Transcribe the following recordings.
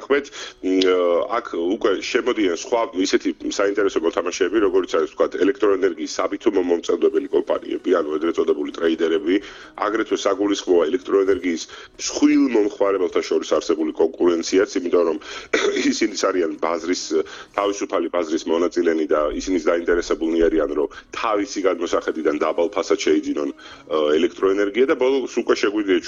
მივენახეთ, აქ უკვე შემოდიან სხვა ისეთი საინტერესო მოთამაშეები, როგორც არის თქვა ელექტროენერგიის საბითუმო მომწევდებელი კომპანიები, ანუ ეგრეთ წოდებული ტრეიდერები, აგრეთვე საგულისხმოა ელექტროენერგიის მსხვილ მომხმარებელთა შორის არსებული კონკურენციაც, იმიტომ რომ ისინი არიან თავისუფალი ბაზრის მონაწილენი და ისინი დაინტერესებულნი არიან, რომ თავისი გადმოსახედიდან დაბალ ფასად შეიძინონ ელექტროენერგია და ბოლოს უკვე შეგვიძლია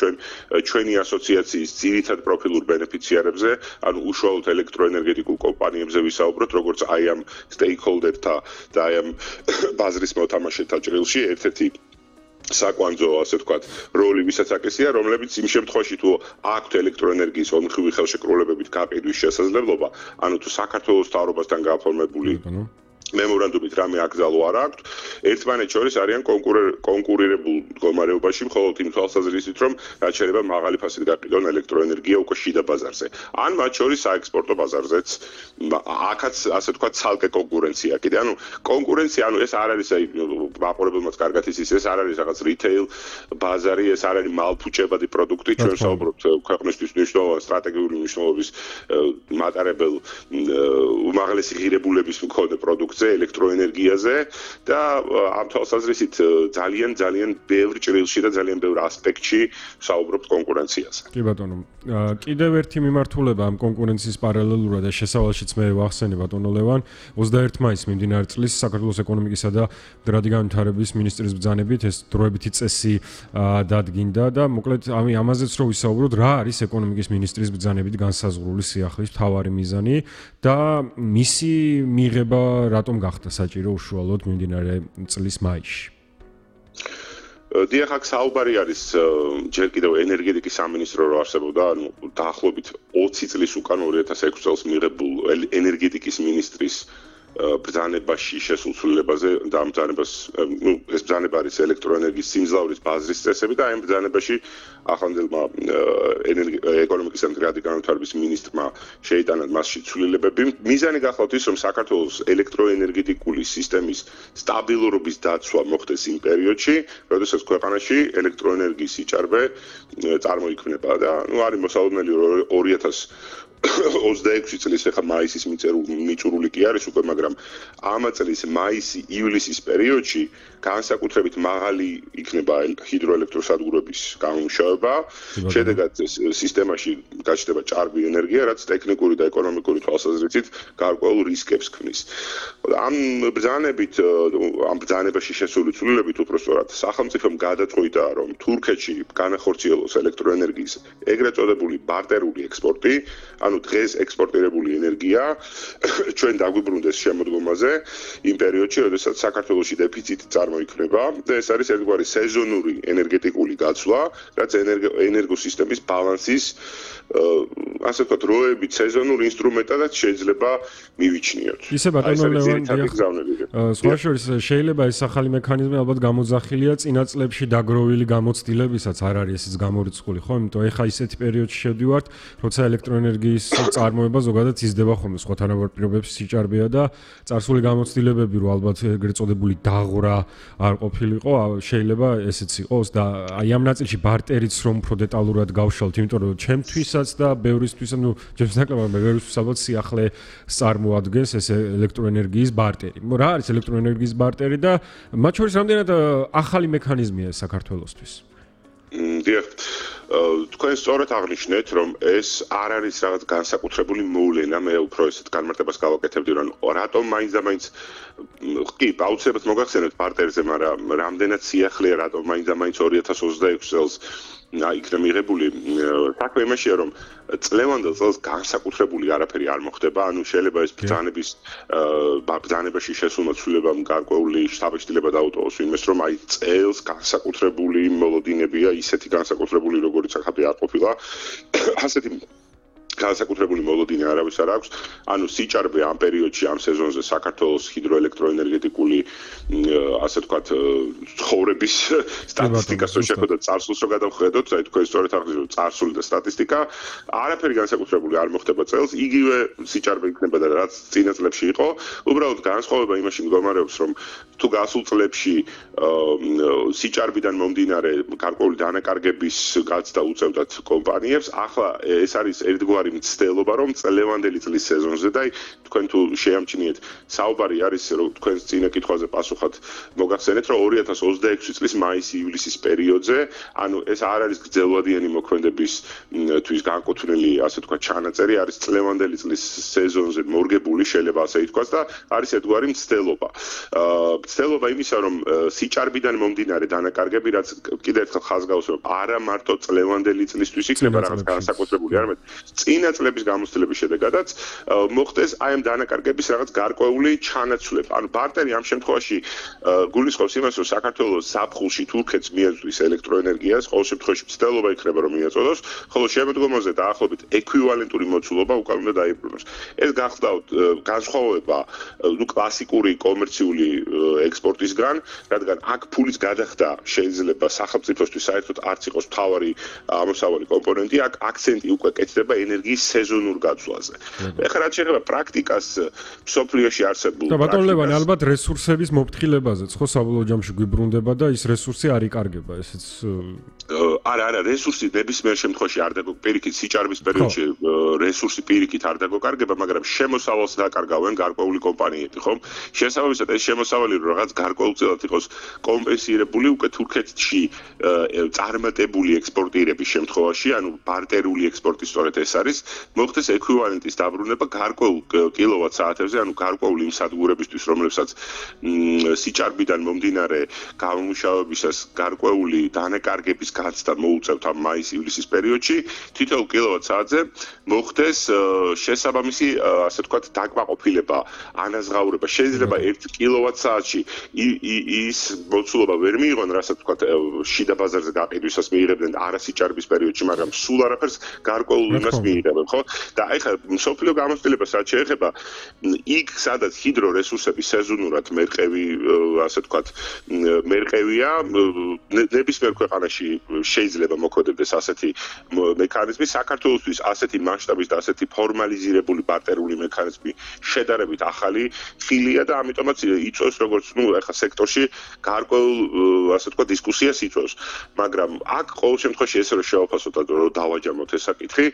ჩვენი ასოციაციის ძირითად პროფილურ ბენეფიციარებზე, ანუ უშუალოდ ელექტროენერგეტიკულ კომპანიებზე ვისაუბროთ, როგორც აი ამ stakeholder-თა და აი ამ ბაზრის მოთამაშეთა ჭრილში ერთ-ერთი საკვანძო, ასე ვთქვათ, როლი ვისაც აკისრია, რომლებიც იმ შემთხვევაში თუ აქვთ ელექტროენერგიის ორმხრივი ხელშეკრულებებით გაყიდვის შესაძლებლობა, ანუ თუ საქართველოს მთავრობასთან გაფორმებული მემორანდუმით რამე აკრძალო არ აქვთ, ერთმანეთს შორის არიან კონკურირებულ მდგომარეობაში, მხოლოდ იმ თვალსაზრისით, რომ რაც შეიძლება მაღალი ფასით გაყიდონ ელექტროენერგია უკვე შიდა ბაზარზე. ან მათ შორის საექსპორტო ბაზარზეც აქაც ასე ვთქვათ ცალკე კონკურენცია. კიდე ანუ კონკურენცია, ანუ ეს არ არის მაყურებელმაც კარგად იცის, ეს არ არის რაღაც რიტეილ ბაზარი, ეს არ არის მალფუჭებადი პროდუქტი, ჩვენ საუბრობთ ქვეყნისთვის მნიშვნელოვანი სტრატეგიული მნიშვნელობის მატარებელ უმაღლესი ღირებულების მქონე პროდუქტზე, ელექტროენერგიაზე და ამ თვალსაზრისით ძალიან ბევრ ჭრილში და ძალიან ბევრ ასპექტში საუბრობთ კონკურენციაზე. კი ბატონო, კიდევ ერთი მიმართულება ამ კონკურენციის პარალელურად და შესავალშიც მე ვახსენე ბატონო ლევან, 21 მაისს მიმდინარე წლის საქართველოს ეკონომიკისა და მდგრადი განვითარების მინისტრის ბრძანებით ეს დროებითი წესი დადგინდა და მოკლედ ამაზეც რო ვისაუბროთ, რა არის ეკონომიკის მინისტრის ბრძანებით განსაზღვრული სიახლის მთავარი მიზანი და მისი მიღება რატომ გახდა საჭირო უშუალოდ მიმდინარე წლის მაისში? დიახ, აქ საუბარი არის ჯერ კიდევ ენერგეტიკის სამინისტრო რო არსებობდა, ანუ დაახლოებით 20 წლის უკან 2006 წელს მიღებულ ენერგეტიკის მინისტრის ბრძანებაში შესულ ცვლილებაზე და ამ ბრძანებას, ეს ბრძანება არის ელექტროენერგიის სიმძლავრის ბაზრის წესები და ამ ბრძანებაში ახლანდელმა ეკონომიკის და მდგრადი განვითარების მინისტრმა შეიტანა მასში ცვლილებები. მიზანი გახლავთ ის, რომ საქართველოს ელექტროენერგეტიკული სისტემის სტაბილურობის დაცვა მოხდეს იმ პერიოდში, როდესაც ქვეყანაში ელექტროენერგიის სიჭარბე წარმოიქმნება და არის მოსალოდნელი 2026 წლის ახლა მაისის მიწურული კი არის უკვე, მაგრამ ამ წლის მაისი-ივლისის პერიოდში განსაკუთრებით მაღალი იქნება ჰიდროელექტროსადგურების გამომუშავება, შედეგად სისტემაში გაჩნდება ჭარბი ენერგია, რაც ტექნიკური და ეკონომიკური თვალსაზრისით გარკვეულ რისკებს ქმნის. ამ ბრძანებაში შესული ცვლილებით უпростоრად სახელმწიფომ გადაწყვიტა, რომ თურქეთში განახორციელოს ელექტროენერგიის ეგრეთ წოდებული ბარტერული ექსპორტი, ანუ დღეს ექსპორტირებული ენერგია ჩვენ დაგვიბრუნდეს შემოდგომაზე იმ პერიოდში, როდესაც საქართველოში დეფიციტი წარმოიქმნება და ეს არის ერთგვარი სეზონური ენერგეტიკული გაცვლა, რაც ენერგოსისტემის ბალანსის ასე ვთქვათ, როებით სეზონურ ინსტრუმენტადაც შეიძლება მივიჩნიოთ. ისე ბატონო ლევან, სხვა შორის შეიძლება ეს ახალი მექანიზმი ალბათ გამოძახილია წინა წლებში დაგროვილი გამოცდილებისაც არ არის ესეც გამორიცხული, ხო? იმიტომ ეხა ისეთი პერიოდში შევდივართ, როცა ელექტროენერგიის წარმოება ზოგადად იზრდება ხოლმე, სხვა თანაბარ პირობებში სიჭარბეა და წარსული გამოცდილებები რო ალბათ ეგრეთ წოდებული დაღვრა არ ყოფილიყო, შეიძლება ესეც იყოს და აი ამ ნაწილში ბარტერიც რომ უფრო დეტალურად გავშალთ, იმიტომ რომ ჩემთვისაც და ბევრისთვის, ну, ჩემს ნაკლებად ბევრისთვის ალბათ სიახლე წარმოადგენს ეს ელექტროენერგიის ბარტერი. რა არის ელექტროენერგიის ბარტერი და მათ შორის რამდენად ახალი მექანიზმია ეს საქართველოსთვის? დიახ, თქვენ სწორად აღნიშნეთ, რომ ეს არ არის რაღაც განსაკუთრებული მოვლენა, მე უფრო ესეთ განმარტებას გავაკეთებდი, რომ რატომ მაინც კი, აუცილებლად მოგახსენებთ პარტერზე, მაგრამ რამდენად სიახლეა, რატომ მაინც 2026 წელს იქნა მიღებული. საქმე იმაშია, რომ წლევანდელ წელს განსაკუთრებული არაფერი არ მოხდება, ანუ შეიძლება ეს ბრძანებაში შესულმა ცვლილებამ გარკვეული შთაბეჭდილება დაუტოვოს იმას, რომ აი წელს განსაკუთრებული მოლოდინებია, ისეთი განსაკუთრებული როგორც ახლა არ ყოფილა. ასეთი განსაკუთრებული მოლოდინი არავის არ აქვს. ანუ სიჭარბე ამ პერიოდში, ამ სეზონზე საქართველოს ჰიდროელექტროენერგეტიკული ასე ვთქვათ, ცხოვრების სტატისტიკას რო შეხედოთ, წარსულს რო გადავხედოთ, აი თქვენ სწორედ აღნიშნეთ, წარსული და სტატისტიკა, არაფერი განსაკუთრებული არ მოხდება წელს, იგივე სიჭარბე იქნება და რაც წინა წლებში იყო. უბრალოდ განსხვავება იმაში მდგომარეობს, რომ თუ გასულ წლებში სიჭარბიდან მომდინარე გარკვეული დანაკარგების გაცდა უწევდათ კომპანიებს, ახლა ეს არის ერთგვარი მთავარი მცდელობა, რომ წლევანდელი წლის სეზონზე და თქვენ თუ შეამჩნიეთ, საუბარი არის, რომ თქვენ წინა კითხვაზე პასუხად მოგახსენეთ, რომ 2026 წლის მაისი-ივლისის პერიოდზე, ანუ ეს არ არის გრძელვადიანი მოქმედებისთვის განკუთვნილი, ასე თქვა, ჩანაწერი, არის წლევანდელი წლის სეზონზე მორგებული, შეიძლება ასე ითქვას და არის ერთგვარი მცდელობა. მცდელობა იმისა, რომ სიჭარბიდან მომდინარე დანაკარგები, რაც კიდევ ერთხელ ხაზგავს, რომ არა მარტო წლევანდელი წლისთვის იქნება რაღაც განსაკუთრებული, არამედ წინა წლების გამოცდილების შედეგადაც მოხდეს აი ამ დანაკარგების რაღაც გარკვეული ჩანაცვლება. ანუ ბარტერი ამ შემთხვევაში გულისხმობს იმას, რომ საქართველოს ზაფხულში თურქეთს მიეწვის ელექტროენერგიას, ყოველ შემთხვევაში მცდელობა იქნება რომ მიეწოდოს, ხოლო შემოდგომაზე დაახლოებით ექვივალენტური მოცულობა უკან უნდა დაიბრუნოს. ეს გახლავთ განსხვავება კლასიკური კომერციული ექსპორტისგან, რადგან აქ ფულის გადახდა შეიძლება სახელმწიფოსთვის საერთოდ არც იყოს მთავარი ამოსავალი კომპონენტი, აქ აქცენტი უკვე კეთდება ენერგიის სეზონურ გაცვლაზე. ეხლა რაც შეეხება პრაქტიკას მსოფლიოში არსებულ და ბატონ ლევანი ალბათ რესურსების მოფრთხილებაზეც ხო საბოლოო ჯამში გვიბრუნდება და ის რესურსი არ იკარგება, ესეც არა, რესურსი ნებისმიერ შემთხვევაში არ დაგოკარგება, სიჭარბის პერიოდში რესურსი პირიქით არ დაგოკარგება, მაგრამ შემოსავალს დაკარგავენ გარკვეული კომპანიები, ხო? შესაბამისად ეს შემოსავალი რაღაც გარკვეულწილად იყოს კომპენსირებული უკვე თურქეთში წარმატებული ექსპორტირების შემთხვევაში, ანუ ბარტერული ექსპორტი სწორედ ეს არის, მოხდეს ექვივალენტის დაბრუნება გარკვეულ კილოვატ-საათებზე, ანუ გარკვეული იმ სადგურებისთვის, რომლებსაც სიჭარბიდან მომდინარე გამომუშავებისას გარკვეული დანაკარგების გაცდა მოუწევთ ამ მაის-ივლისის პერიოდში, თითოეულ კილოვატ-საათზე მოხდეს შესაბამისი, ასე ვთქვათ, დაკმაყოფილება, ანაზღაურება. შეიძლება 1 კილოვატ-საათში ის მოცულობა ვერ მიიღონ, რასაც ვთქვათ, შიდა ბაზარზე გაყიდვისას მიიღებდნენ არასიჭარბის პერიოდში, მაგრამ სულ არაფერს გარკვეულ იმას მიიღებენ, ხო? და ეხლა მსოფლიო გამოცდილებას რაც შეეხება, იქ სადაც ჰიდრორესურსები სეზონურად მერყევი, ასე ვთქვათ, მერყევია, ნებისმიერ ქვეყანაში შეიძლება მოქმედებდეს ასეთი მექანიზმი, საქართველოსთვის ასეთი მასშტაბის და ასეთი ფორმალიზირებული ბარტერული მექანიზმი შედარებით ახალი ხილია და ამიტომაც იწვევს როგორც ეხლა სექტორში გარკვეულ, ასე ვთქვათ, დისკუსიას იწვევს, მაგრამ აქ ყოველ შემთხვევაში ესე რომ შევაფასოთ, რომ დავაჯამოთ ეს საკითხი,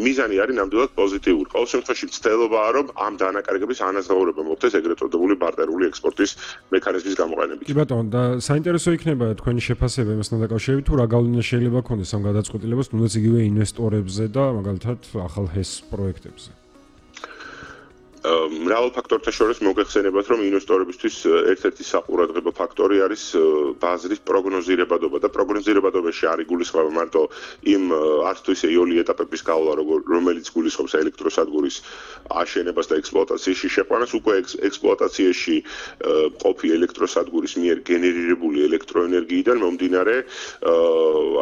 მიზანი არის ნამდვილად პოზიტიური. ყოველ შემთხვევაში მცდელობაა, რომ ამ დანაკარგების ანაზღაურება მოხდეს ეგრეთ წოდებული ბარტერული ექსპორტის მექანიზმის გამოყენებით. კი ბატონო, და საინტერესო იქნება თქვენი შეფასება იმასთან დაკავშირებით, თუ რა გავლენა შეიძლება ქონდეს ამ გადაწყვეტილებას, თუნდაც იგივე ინვესტორებზე და მაგალითად ახალ HES პროექტებზე. მრავალ ფაქტორთან შორის მოგეხსენებათ, რომ ინვესტორებისთვის ერთ-ერთი საყურადღებო ფაქტორი არის ბაზრის პროგნოზირებადობა და პროგნოზირებადობაში არ იგულისხმება მარტო იმ არც თუ ისე იოლი ეტაპების გავლა, რომელიც გულისხმობს ელექტროსადგურის აშენებას და ექსპლუატაციაში შეყვანას, უკვე ექსპლუატაციაში ყოფი ელექტროსადგურის მიერ გენერირებული ელექტროენერგიიდან მომდინარე,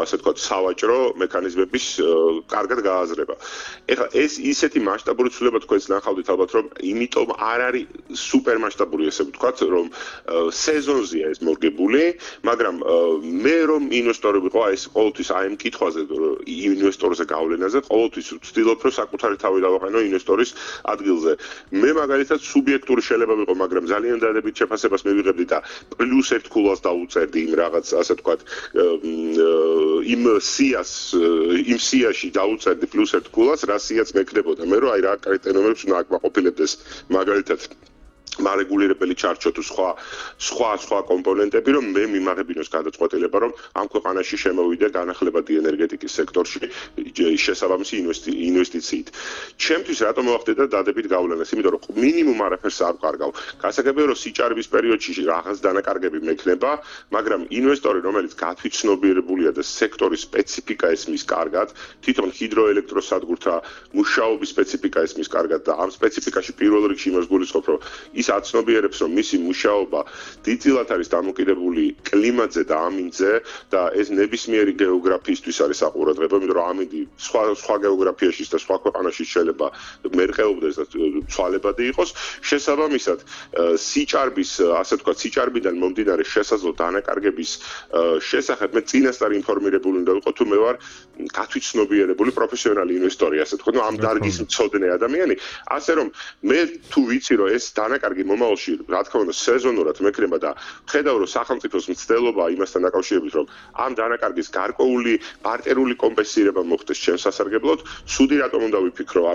ასე ვთქვათ, სავაჭრო მექანიზმების კარგად გააზრება. ეხლა ეს ისეთი მასშტაბური ცვლილება თქვენს ნახავთ ალბათ, რომ იმიტომ არ არის სუპერმასშტაბური, ესე ვთქვათ, რომ სეზონზეა ეს მორგებული, მაგრამ მე რომ ინვესტორები ყო, ეს ყოველთვის აი ამ კითხვაზე, ინვესტორზე გავლენაზე, ყოველთვის ვცდილობ, რომ საკუთარი თავი დავაყენო ინვესტორის ადგილზე. მე მაგალითად სუბიექტური შეიძლება ვიყო, მაგრამ ძალიან დადებით შეფასებას მივიღებდი და პლუს 1 ქულას დავუწერდი იმ რაღაც, ასე ვთქვათ, იმ სიაში დავუწერდი პლუს 1 ქულას, რა სიაც მექნებოდა. მე რომ აი რა კრიტერიუმებს უნდა აკმაყოფილებდეს მაგალითად მარეგულირებელი ჩარჩო თუ სხვა კომპონენტები, რომ მე მიმაღებინოს გადაწყვეტილება, რომ ამ ქვეყანაში შემოვიდე განახლებადი ენერგეტიკის სექტორში შესაბამისი ინვესტიციით. ჩემთვის რატომ მოახდინა დადებით გავლენას? იმიტომ რომ მინიმუმ არაფერს არ ვკარგავ. გასაგებია რომ სიჭარბის პერიოდში რაღაც დანაკარგები მექნება, მაგრამ ინვესტორი, რომელიც გათვითცნობიერებულია და სექტორის სპეციფიკა ესმის კარგად, თვითონ ჰიდროელექტროსადგურთა მუშაობის სპეციფიკა ესმის კარგად და ამ სპეციფიკაში პირველ რიგში იმას გულისხმობ, რომ ის აცნობიერებს, რომ მისი მუშაობა დიდწილად არის დამოკიდებული კლიმატზე და ამინდზე და ეს ნებისმიერი გეოგრაფიისთვის არის საყურადღებო, იმიტომ რომ ამინდი სხვა გეოგრაფიაში და სხვა ქვეყანაში შეიძლება განათლება მერყეობდეს და ცვალებადი იყოს. შესაბამისად, სიჭარბის, ასე ვთქვათ, სიჭარბიდან მომდინარე შესაძლო დანაკარგების შესახებ მე წინასწარ ინფორმირებული უნდა ვიყო, თუ მე ვარ გათვითცნობიერებული პროფესიონალი ინვესტორი, ასე ვთქვათ, ამ დარგის მცოდნე ადამიანი, ასე რომ მე თუ ვიცი რომ ეს დანაკარგი მომავალში, რა თქმა უნდა, სეზონურად მექნება და ხედავ რომ სახელმწიფოს მცდელობა იმასთან დაკავშირებით, რომ ამ დანაკარგის გარკვეული ბარტერული კომპენსირება მოხდეს ჩემს სასარგებლოდ, სუდი რატომ უნდა ვიფიქრო, ანუ